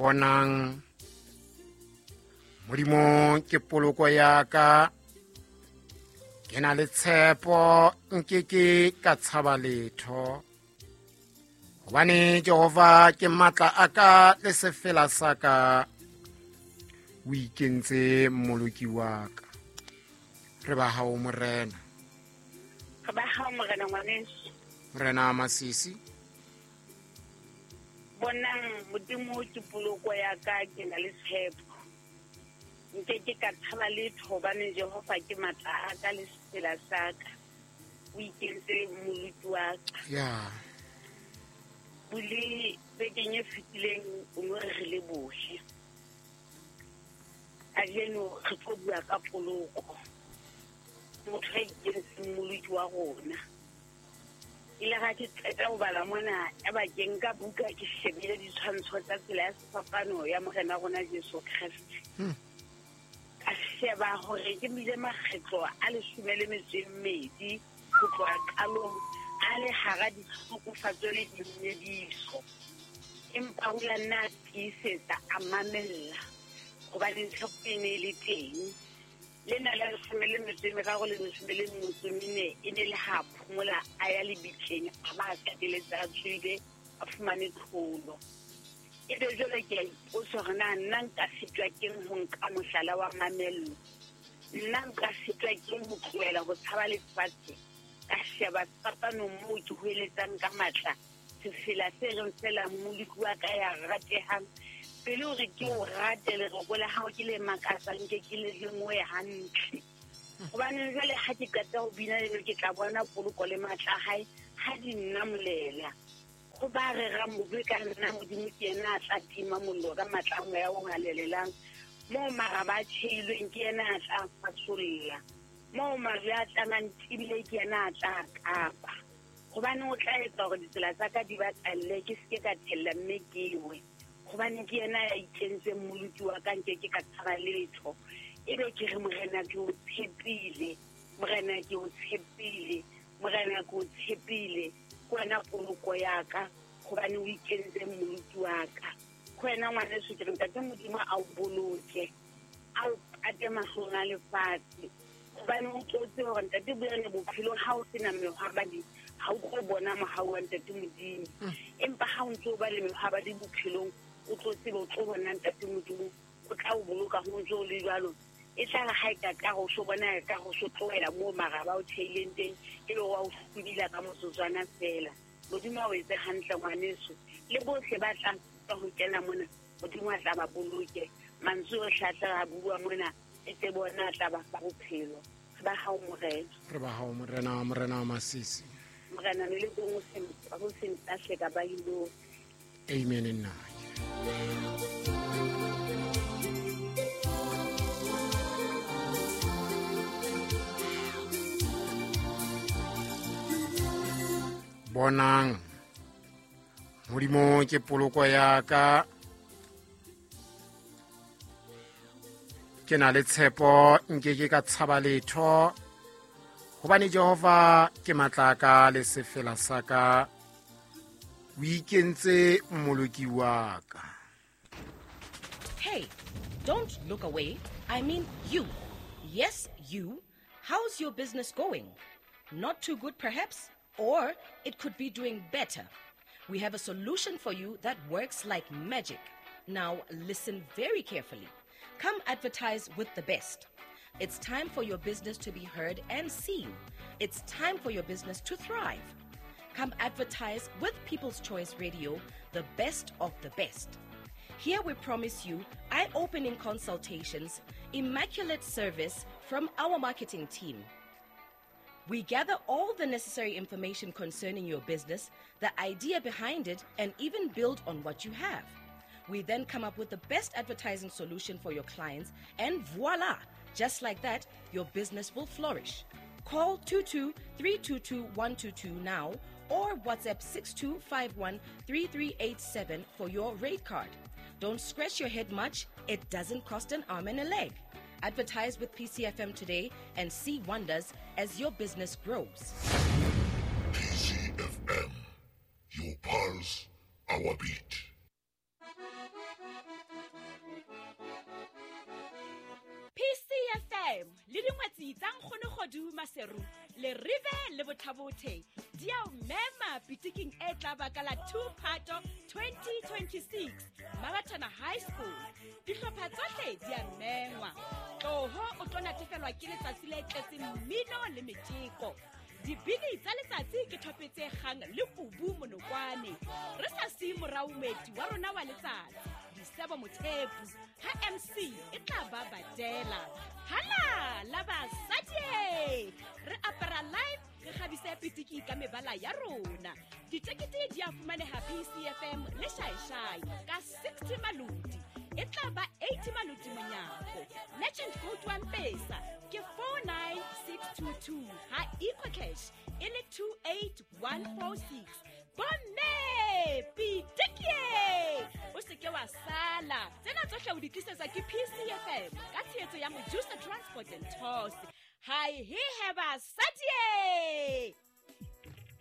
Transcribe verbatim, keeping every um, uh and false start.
Bonang, Modimo ke poloko ya ka, ke na le tshepo, nkeke ka tshaba letho. Hobane Jehova ke matla a ka le sefela sa ka, o ikentse mmoloki wa ka. Re ba hao Morena. Re ba hao Morena ngwaneso. Morena Masisi. Bonang, Modimo ke poloko ya ka, ke na le tshepo. Nke ke ka tshaba letho hobane Jehova ke matla a ka le sefela sa ka. O ikentse mmoloki wa ka. Ya. Bule bekeng e fetileng o no re re lebohe. Kajeno re tlo bua ka poloko. Motho a ikentseng mmoloki wa rona. Ile ga ke qeta ho bala mona, ya ba ke nka buka ke shebile ditshwantsho tsa tsela ya sefapano ya Morena rona Jesu Kreste. Hmm. Ka sheba hore ke bile makgetlo a leshome le metso e mmedi ho tloha qalong a le hara ditlhokofatso le dinyediso. Empa o la nna a tiisetsa, a mamella, hobane tshepo e ne e le teng. Lena la leshome le metso e meraro le leshome le metso e mene e ne le ha phomola a ya lebitleng, a ba a qetelletse a tswile, a fumane tlholo. Ebe jwale ke a ipotsa hore na nna nka sitwa keng ho nka mohlala wa mamello? Nna nka sitwa keng ho tlohela ho tshaba lefatshe? Ka sheba sefapanong moo ke hoeletsang ka matla, sefela se reng feela mmoloki wa ka ya ratehang. Pele hore ke o rate lereko la hao ke le makatsang, nke ke le lemohe hantle. Hobane jwale ha ke qeta ho bina leno, ke tla bona poloko le matla a hae ha di nnamolela. Ho ba rerang bobe ka nna, Modimo ke yena a tla tima mollo ka matla a moya o halalelang. Moo maraba a tjheilweng ke yena a tla fasolla. Moo majwe a tlamang tibile ke yena a tla kapa. Hobane o tla etsa hore ditsela tsa ka di batalle, ke se ke ka thella mme ke we. Hobane ke yena ya ikentseng mmoloki wa ka, nke ke ka tshaba letho. Ebe ke re Morena ke o tshepile, Morena ke o tshepile, Morena ke o tshepile. Ke wena poloko ya ka, hobane o ikentse mmoloki wa ka. Ke wena ngwaneso, ke re Ntate Modimo a o boloke, a o pate mahlong a lefatshe. Hobane o tlo tseba hore Ntate Boyane bophelong ha o sena mehwabadi, ha o tlo bona mohau wa Ntate Modimo. Mm. Empa ha o ntso ba le mehwabadi bophelong, o tlo tseba, o tlo bona Ntate Modimo, o tla o boloka ho ntso o le jwalo. E tla re ha e ka ka ho so bona e ka ho so tlohela moo maraba o theileng teng, e be wa o hlwibila ka motsotswana feela. Modimo a o etse hantle ngwaneso. Le bohle ba tlang ka ho kena mona, Modimo a tla ba boloke. Mantswe ohle a tla a bua mona, e tle bona a tla ba fa bophelo. Re ba hao Morena. Re ba hao Morena, Morena Masisi. Morena, le le teng o se, o se ntahle ka ba ilo. Amen nna. Bonang, Modimo ke poloko ya ka, ke na le tshepo, nke ke ka tshaba letho, hobane Jehova ke matla a ka le sefela sa ka, o ikentse mmoloki wa ka. Hey, don't look away. I mean you. Yes, you. How's your business going? Not too good, perhaps? Or it could be doing better. We have a solution for you that works like magic. Now, listen very carefully. Come advertise with the best. It's time for your business to be heard and seen. It's time for your business to thrive. Come advertise with People's Choice Radio, the best of the best. Here we promise you eye-opening consultations, immaculate service from our marketing team. We gather all the necessary information concerning your business, the idea behind it, and even build on what you have. We then come up with the best advertising solution for your clients, and voila! Just like that, your business will flourish. Call two two three two two one two two now or WhatsApp six two five one three three eight seven for your rate card. Don't scratch your head much. It doesn't cost an arm and a leg. Advertise with P C F M today and see wonders as your business grows. P C F M, your pulse, our beat. F M le dingwetsi tsa Nkgono Kgodu Maseru le Rive le Bothabothe di a o mema pitiking e tla ba ka la two Phato twenty twenty-six Mabathana High School. Dihlopha tsohle di a mengwa. Tloho o tlo natefelwa ke letsatsi le tletseng mmino le metjeko. Dibini tsa letsatsi ke thope tse kgang le kubu monokwane. Re sa siye morao moeti wa rona wa letsatsi, Disebo Mothepu, ha M C e tla ba badela. Hala la basadi! Re apara live, re kgabise pitiki ka mebala ya rona. Ditekete di a fumaneha P C F M le Shaishai ka sixty maloti. E tla ba eighty maloti monyako. Legend code wa Mpesa ke four nine six two two ha EcoCash e le two eight one four six. Bomme pitiki! O se ke wa sala. Tsena tsohle o di tlisetswa ke P C F M ka tshehetso ya Mojusa Transport and Tours. Hi he he basadi!